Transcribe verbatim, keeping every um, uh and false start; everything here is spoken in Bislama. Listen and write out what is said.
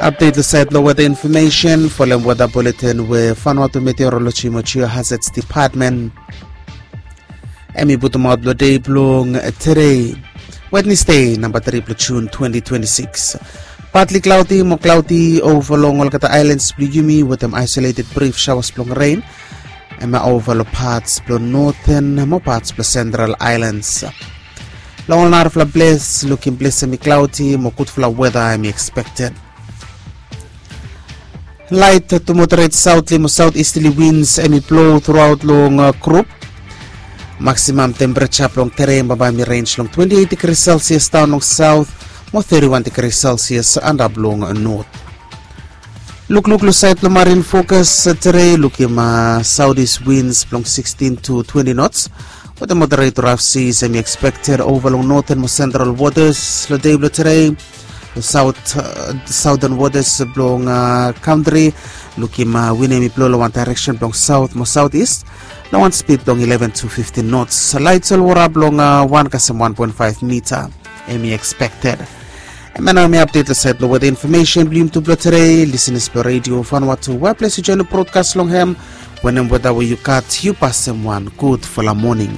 Update lo sait lo weather information folem weather bulletin we Vanuatu Meteorology mo Geohazards Department. Em i putumaot lo dei blong terei, Wednesday namba tri blong Jun twenty twenty-six. Partly cloudy mo cloudy over long olgeta islands blong yumi wetem isolated brief showers blong rain. Em i over lo parts blong northern mo parts blong central islands. Long ol narafala ples lukim ples em i cloudy mo gudfala weather em i expected. Light to moderate southly mo southeasterly winds em i blow throughout long uh, group. Maximum temperature blong terei bambae em i range long twenty-eight degrees Celsius down long south mo thirty-one degrees Celsius andap long north. Lukluk lo sait lo marine focus terei lukim uh, southeast winds blong sixteen to twenty knots with a moderate rough seas em i expected over long northern mo central waters lo dei blo terei. South, uh, southern waters blong uh, country lukim uh, win em i blo long wan direction blong south mo southeast long wan speed blong eleven to fifteen knots. Light solwara blong uh, one kasem one point five meter em i expected. Em ya nao mi update lo sait lo weather information blong yumi tu blo terei listeners blo radio Vanuatu we ples yu join lo broadcast long hem. Wenem weather we yu gat yu pasem wan gudfala morning.